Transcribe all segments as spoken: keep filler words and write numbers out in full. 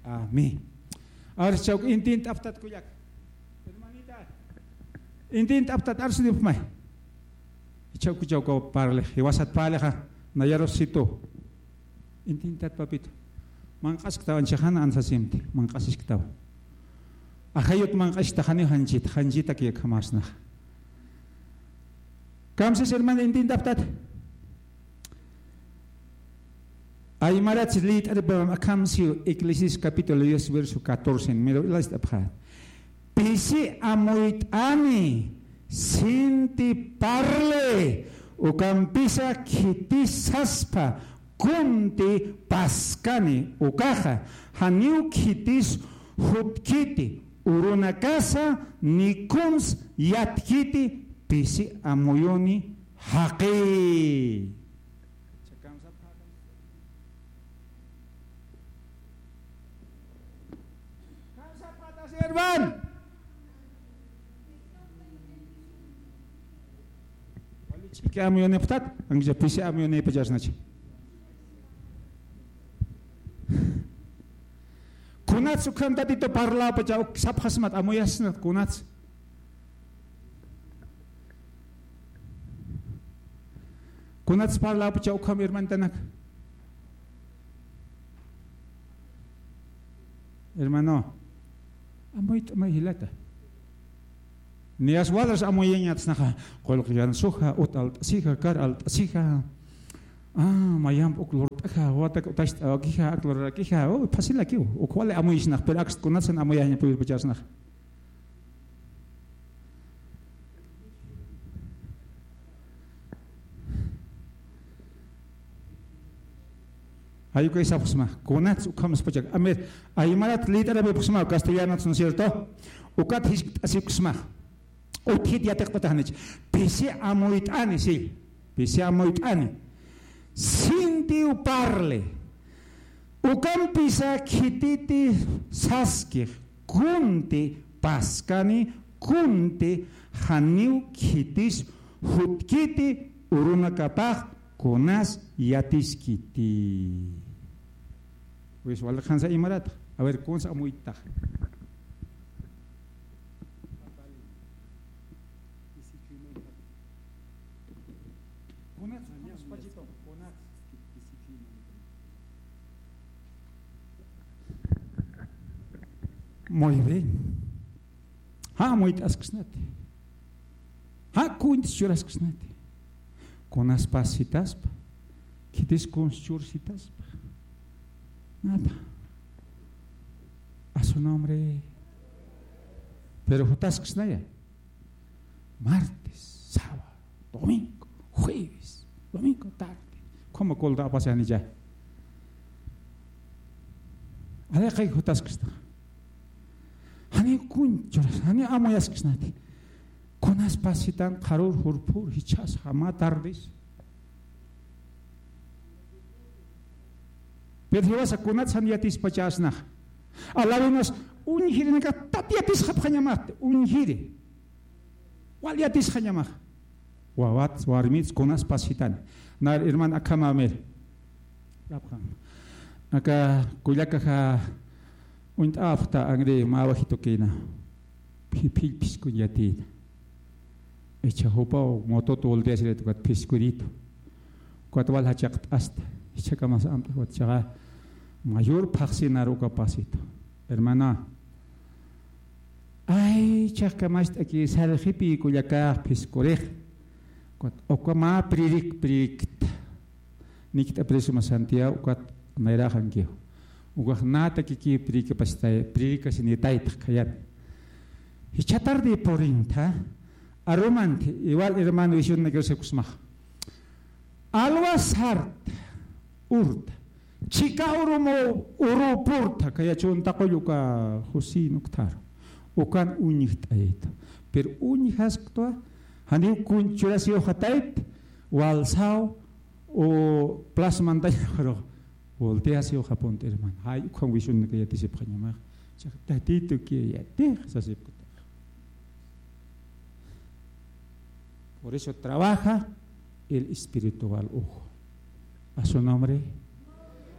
Amén. Ahora chawk intint'aptat kullak. Hermanita. Intint'aptat arsunipxmay. Chawk chawk parle. Jiwasat parlexa. Nayarus situ. Intintat papito. Manq'asktaw anchixana ansasimti. Manq'asisktaw. Ajayut manq'askta janiw janchit. Janchitak yakhamasnaxa. Kamsas hermano intintaptat. Aymarat lït'aripam akham siw Eclesiastés capítulo diez, verso catorce, mira, last'apxä. Pisi amuyt'ani, sinti parle, ukampisa khitis saspa, kunti paskani, ukaxa, janiw khitis jutkiti, urunakasa, ni kuns yatkiti, pisi amuyuni, jaqi. Herman. Wali ch'iki amuyunipxtat, ancha pisi amuyunipachasnacha. Kunats ukham Tatitu parlapacha uk sapxasmat amuyasnat kunats. Kunats parlapacha ukham hermantanak. Hermano, amuyt'amay jilata. Niyas wadras amuyañatsnaxa, qullqi yansuxa, ut alt'asixa, kar alt'asixa. Ah, mayamp uk lurt'axa, watak utacht'awakixa, ak lurarakixa, oh, fácil akiw. Uk wali amuyisnax, pero akst kunatsan amuyaña puyirpachasnax. Ay, ukay sapxsma, kunats ukham spachak. A ver, aymarat lït'arapipxsma, castellanats, ¿no es cierto? Ukat jiskt'asipxsma. Utjit yatiqt'ataxnich. Pisi amuyt'ani, sí. Pisi amuyt'ani. Sintiw parle. Ukampisa khititi saskix, kunti paskani, kunti janiw khitis jutkiti, urunakapax kunas yatiskiti. Pues, wali qhansa imarat. A ver, kunsa amuytax. Kunats, kunats, pachito, kunats. Muy bien. Ja amuyt'asksnati. Ja kuns churaskksnati. Kunas pas sitaspa. Khitis kuns chur sitaspa. Nada. A su nombre. Pero jutasksnaya. Martes, sábado, domingo, jueves, domingo tarde. ¿Cómo colda apasiani ya? Alaqay jutasksta. Jani kuns churas, jani amuyaskisnati. Kunas pasitan qharur jurpur jichhas jama tardes. Pero jiwasa kunats jan yatispachasnax. Alawinas uñjirinaka tat yatisxapxañamasti, uñjiri. Wal yatisxañamax. Wawats, warmits, kunas pasitan. Nar hermana akhama mir. Aka kullakaxa uñt'apxta angri mä wajitukina. Phi-, phill phiskun yatïna. Ichha jupaw motut volteasirit ukat phiskuritu. Ukat wal jachaqt'asta. Ichhakamas amt'ax ukat chaqa mayor phaxsinar uka pasitu. Hermana, ay, chaqkamast'aki sarxipi kullakax phiskurix. Ukat uka mä pririk prikta. Nikt'aprisma Santiago, ukat nayraxankiw. Ukax natakiki prikapasitay, prikasinitaytx khayat. Jichha tarde purinta, arumanti, igual hermano vision na que se kusmax. Alwa sarta, urta. Chika urumu, uru purta, kaya chunta qulluka José nuktar. Ukan uñjt'ayta. Pero uñjasktwa, janiw kuns churasiw jatayt, walsaw, o plasmantañaxaru volteasiw japunta, hermano. Ay, ukham vision naka yatisipxañamax. Chaq Tatitu que yatix sasipkutax. Por eso trabaja el espiritual ojo. A su nombre.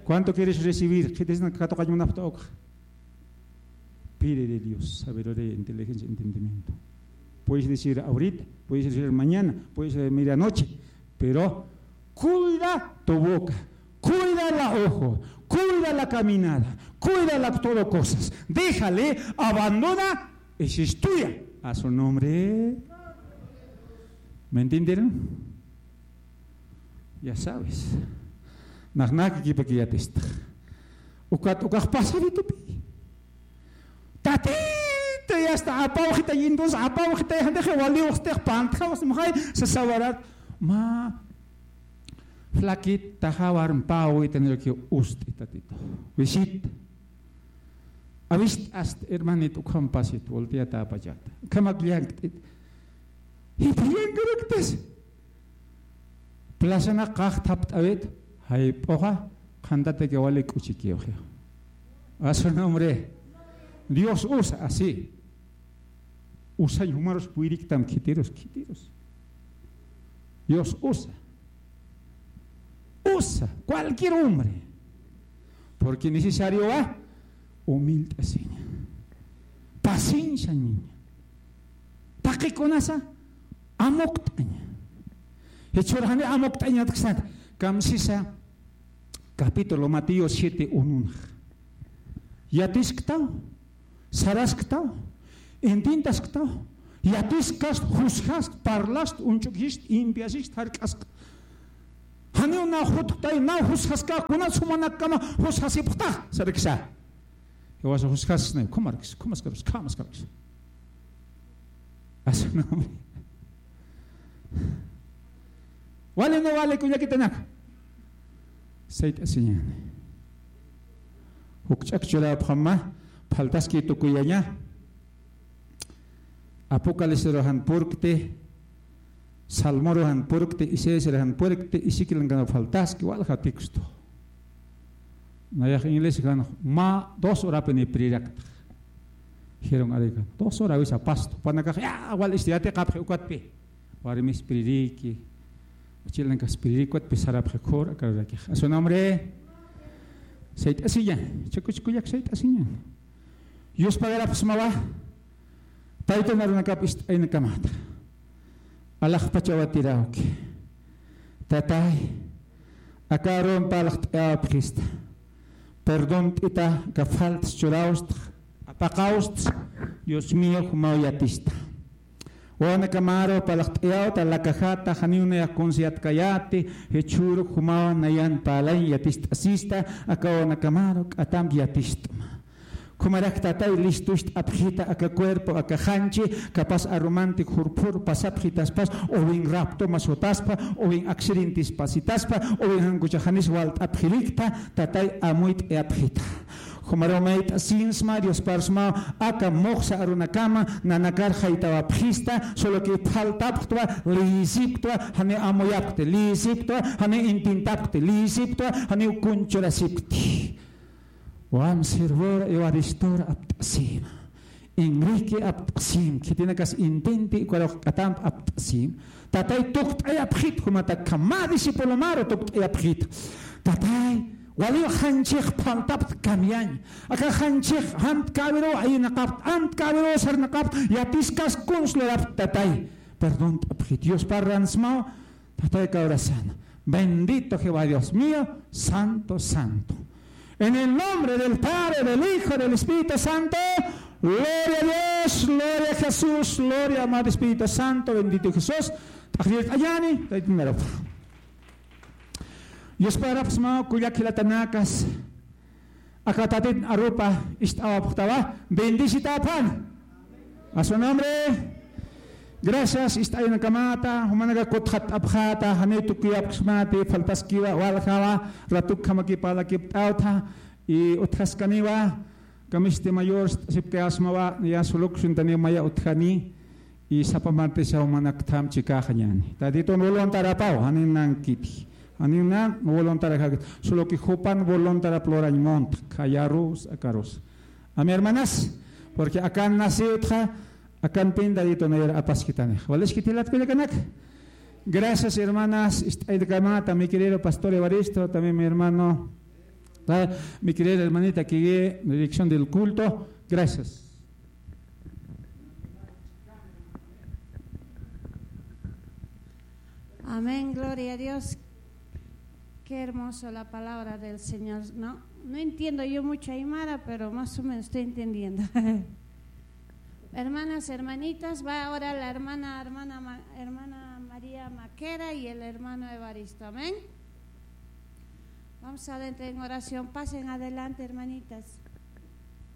¿Cuánto quieres recibir? Khitisna katuqañ munapxta ukxa. Pídele Dios sabiduría, inteligencia, entendimiento. Puedes decir ahorita, puedes decir mañana, puedes decir medianoche, pero cuida tu boca, cuida la ojo, cuida la caminada, cuida la todo cosas. Déjale, abandona, esa es tuya. A su nombre. ¿Me entendieron? Ya sabes. Nax nakikipakiyatistaj. Ukat ukax pasaritupi. Tatita, ya está, apawjita, entonces apawjita, ya deje waliwxtix pantjaw, simxay, sasawarat. Mä flaquita, jawar mpawi, tener que ust'i, tatito. Visita. Avist'ast, hermanito, ukham pasit, volteata, apachata. Ukhamak llank't'it. Jiphi llankaraktas. Plazana qajthapt'awit, jayp'uxa, qhantataki wali k'uchikiwxi. A su nombre. Dios usa así. Usañ jumarus puyriktam khitirus, khitirus. Dios usa. Usa, cualquier hombre. Porque necesario va, humilt'asiña. Paciencia, niña. Taqikunasa, amukt'aña. Jichhürjani amukt'añatksat, kamsisa, capítulo Mateo siete uno. Yatisktaw, sarasktaw, intintasktaw, yatiskast, jusgast, parlast, uñch'ukist, impiasist, jark'ask. Janiw naw jutktay, naw jusgaska, kunats jumanakkama jusgasipxta, sarksa. Jiwasa jusgasnay, kumarks, kumaskarus, kamaskarks. Así no. Wali no wali, kullakitanaka. Sayt'asiñani. Jukch'ak churapxama, faltaski tukuyaña. Apocalipsiruxan purkti, Salmoruxan purkti, Isaiasruxan purkti, Ezequielkana faltaski, walja texto. Nayax inglés kan, mä dos horapini prirakta. Dijeron, arikan, dos hora wisa pasto. Panakax, ya, wal isti, yatiqapxi ukatpi. Warmis pririki. Uchilankas pririki, ukatpi sarapxi khur, akaruraki. A su nombre. Sayt'asiña, chakuchkuyak sayt'asiña. Yuspagarapxsmawa, taytan arunakap ist'aynakamat. Alaxpachawa tirawki. Tatay, aka arumpa alaxt'ayawapxista. Perdón p'ita, aka faltas churawsta, apaqawsta, Dios mío, jumaw yatista. Wawanakamaru palaxt'ayawta, lakajata, janiw nayax kunsa yatkayäti, jichhüru jumaw nayan parlañ yatist'asista, aka wawanakamaru k'atamp yatist'ma. Jumarak tatay listust'apxita aka cuerpo, aka janchi, capaz arumanti jurphur pasapxitaspas, uwin rapto masutaspa, uwin accidentes pasitaspa, uwin jankuchax janis walt'apxirikta, tatay amuyt'ayapxita. Jumaru mayt'asinsma, Diosparsma, aka muxsa arunakama, nanakar jaytawapxista, solo que faltapxtwa, liyisipktwa, janiw amuyapkti, liyisipktwa, janiw intintapkti, liyisipktwa, janiw kunchurasipkti. Wam sirvura Evaristora apt'asima. Enrique apt'asim, khitinakas intinti, ukarux k'atamp apt'asim. Tatay tukt'ayapxit, jumatakama discípulo maru tukt'ayapxit. Tatay, waliw janchix phaltapt kamiyañ. Aka janchix jant kawiru ayinaqapt, jant kawiru sarnaqapt, yatiskas kunslurapt tatay. Perdón t'apxit, Dios parransmaw, tatay kawrasan. Bendito Jehová Dios mío, santo, santo. En el nombre del Padre, del Hijo, del Espíritu Santo, gloria a Dios, gloria a Jesús, gloria a Madre Espíritu Santo, bendito Jesús. T'aqllir t'añani, taytinarupa. Yusparapxsmaw kullak jilatanakas. Aka tatit arupa ist'awapxtawa, bendicitapxan. A su nombre. Gracias, ist'aynakamata, jumanaka kutxatt'apxäta, janiw tukuyapxsmati, faltaskiwa, waljawa, ratukjamakipa lakipt'awtha, y utjaskaniwa, kamisti mayor, sipkayasmawa, ya sulukshuntani maya utjani, y sapa martesa jumanaktham chikaxañani. Tatitun voluntarapaw, janin nankiti. Janin nan voluntarajakit. Solo que jupan voluntarap lurañ munt, khayarus, akarus. Amén, hermanas. Porque akan naciwtxa, akan pin Tatitun nayar apaskitanix. Waliskiti jilat kullakanak. Gracias, hermanas. Ist'aynakamata, mi querido pastor Evaristo, también mi hermano, ah, mi querida hermanita que guíe la dirección del culto. Gracias. Amén, gloria a Dios. Qué hermoso la palabra del Señor. No, no entiendo yo mucho aymara, pero más o menos estoy entendiendo. Hermanas, hermanitas, va ahora la hermana, hermana, Ma- hermana María Maquera y el hermano Evaristo. Amén. Vamos adentro en oración. Pasen adelante, hermanitas.